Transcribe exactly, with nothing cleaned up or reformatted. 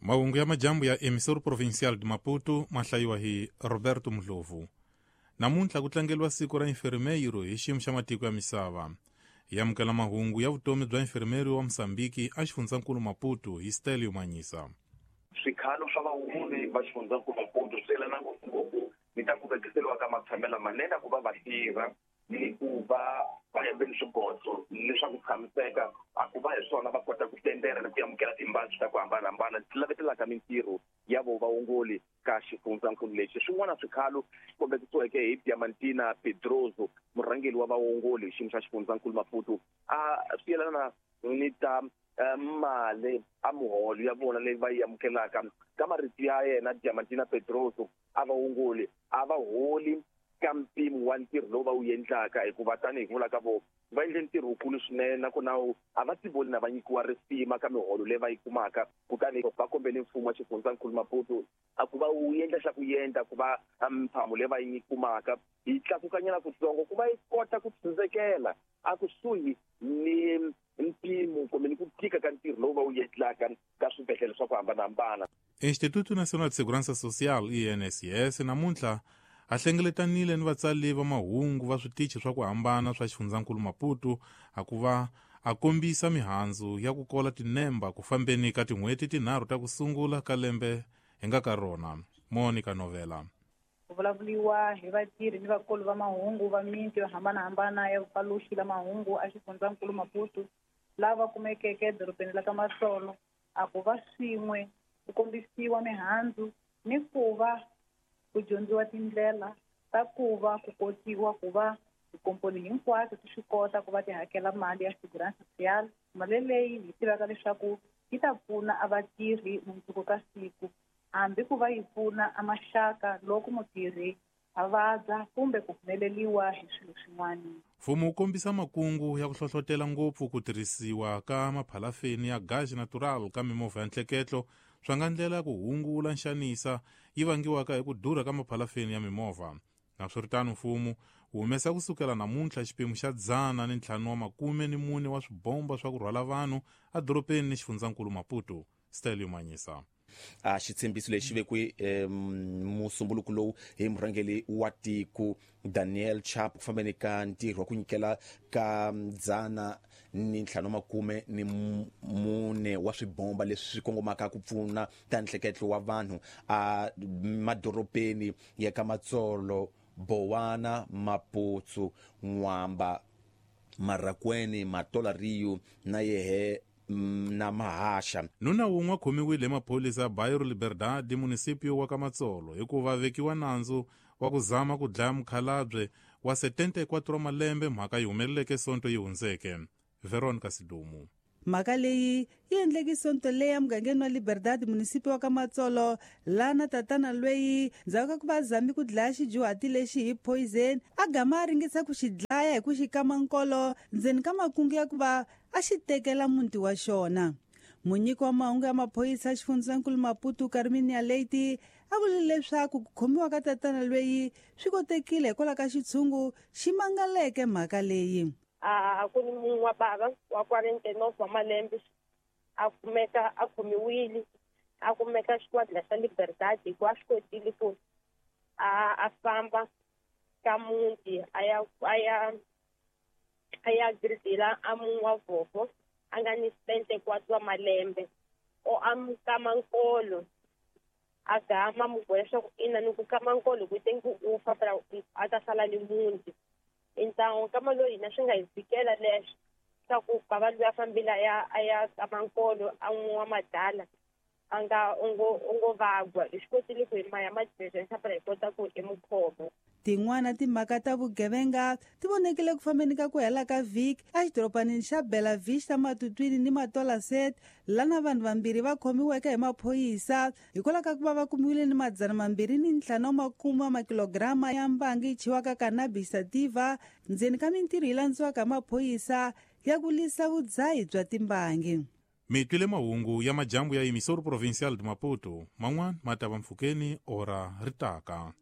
Mahungu ya majambu ya Emissor Provincial de Maputo ma hlayiwa hi Roberto Mdlovu. Namuntlha ku tlangeriwa siku ra infermeiro hi xiyimo xa matiko ya misava. Hi amukela mahungu ya vutomi bya infermeiro wa Mozambique a xifundzankulu Maputo hi Stelio Manyisa. Swikhalo swa vaongori va xifundzankulu Maputo swi yelana ngopfungopfu ni ta ku vekiseriwa ka matshamelo manene ku va va tirha ni ku va va yembeni swigotso leswaku tshamiseka a ku va hi swona va kota ku tendera ni ku amukela timbangi ta ku hambanahambana ti lavetelaka mintirho ya vo vaongori ka xifundzankulu lexi. Swin'wana swikhalo kombekisiweke hi Diamantina Pedroso, murhangeri wa vaongori hi xiyimo xa xifundzankulu Maputo, a swi yelana ni ta mali a muholo ya vona leyi va yi amukelaka. Ka marito ya yena Diamantina Pedroso, a vaongori a va holi ka mpimo wa ntirho lowu va wu endlaka, hikuva tanihi ku vula ka vona va endle ntirho wukulu swinene nakona a va tivoni na va nyikiwa risima ka miholo leyi va yi kumaka. Kutani va kombele mfumo wa xifundzankulu Maputo a ku va wu endla xa ku endla ku va mphamo leyi va yi kumaka yi tlakukanyana kutsongo ku va yi kota ku tshundzekela a kusuhi ni mpimo kumbe ni ku tika ka ntirho lowu va wu endlaka ka swibedhlele swa ku hambanahambana. Instituto Nacional de Segurança Social I N S S namuntlha a hlengeletanile ni vatsali va mahungu va switichi swa ku hambana swa xifundzankulu Maputo a ku va a kombisa mihandzu ya ku kola tinemba ku fambeni ka tin'hweti tinharhu ta ku sungula ka lembe hi nga ka rona. Monica Novela. Ku vulavuriwa hi vatirhi ni vakulu va mahungu va miti yo hambanahambana ya vupaluxi la mahungu a xifundzankulu Maputo lava kumekeke edorobeni la ka Matsolo a ku va swin'we ku kombisiwa mihandzu ni ku va ku dyondziwa tindlela ta ku va ku kotiwa ku va tikomponi hinkwato ti swi kota ku va ti hakela mali ya Segurança Social, mali leyi hi tivaka leswaku yi ta pfuna a vatirhi mundzuku ka siku, hambi ku va yi pfuna a maxaka loko mutirhi a vabya kumbe ku humeleriwa hi swilo swin'wana. Mfumo wu kombisa makungu ya ku hlohlotela ngopfu ku tirhisiwa ka maphalafeni ya gasi natural ka mimovha ya ntleketlo swa nga ndlela ya ku hungula nxanisa yi vangiwaka hi ku durha ka maphalafeni ya mimovha. Naswiritano, mfumo wu humesa kusukela namuntlha xiphemu xa dzana ni ntlhanu wa makume ni mune wa swibomba swa ku rhwala vanhu edorobeni ni xifundzankulu Maputo. Stelio Manyisa. A xitshembiso lexi vekiwe musumbuluko lowu hi murhangeri wa tiko Daniel Chapo ku fambeni ka ntirho wa ku nyikela ka dzana ni ntlhanu makume ni mune wa swibomba leswi swi kongomaka ku pfuna ta nhleketlo wa vanhu a madorobeni ya ka Matsolo, Bowana, Maputsu, N'wamba, Marakweni, Matola Rio na yehe na Mahasha. Nuna wun'we khomiwile hi maphorisa ya Bairro Liberdade municipio wa ka Matsolo hikuva vekiwa nandzu wa ku zama ku dlaya mukhalabye wa setenta e quatro malembe, mhaka yi humeleleke sonto yi hundzeke. Veronica Sidumu. Mhaka leyi yi endleke sonto leyi emugangeni wa Liberdade municipio wa ka Matsolo, lana tatana lweyi ndzhaku ka ku va zami ku dlaya xidyuhati lexi hi poison a gama a ringesa ku xi dlaya hi ku xi kama nkolo ndzeni ka makungu ya ku va a xi tekela muti wa xona. Munyiki wa mahungu ya maphorisa xifundzankulu Maputo Carminia Leite a vule leswaku ku khomiwa ka tatana lweyi swi kotekile hikwalaho ka xitshungu xi mangaleke mhaka leyi. A ku ni munhu wa bava wa quarenta e nove wa malembe a kumeka a khomiwile, a kumeka xikwadi xa Liberdade hikuva a swi kotile ku a a famba ka muti a ya a ya a ya gridela a munhu wa vhofo a nga ni setenta e quatro wa malembe o a mu kama nkolo a gama mu boha leswaku ina ni ku kama nkolo ku te ku u fa phela a ta sala ni muti. Então kama loyi hina swi nga hi fikela leswo swa ku bava loyi a fambile a ya a ya kama nkolo a n'wi wa madala a nga u ngo u ngo vagwa hi swi kotile ku hi maya madiresa phela hi kota ku i mukhoma. Tin'wana timhaka ta vugevenga ti vonekile ku fambeni ka ku hela ka vhiki exidorobanini xa Bela Vista Matutwini ni Matola Set, lana vanhu vambirhi va khomiweke hi maphorisa hikwalaho ka ku va va kumiwile ni madzana mambirhi ni ntlhanu wa makume wa makilograma ya mbangi yi chiwaka cannabis sativa ndzeni ka mintirho yi landziwaka hi maphorisa ya ku lwisa vudzahi bya timbangi. Mi twile mahungu ya majambu ya Emissor Provincial de Maputo, man'wana ma ta va mpfhukeni ora ri taka.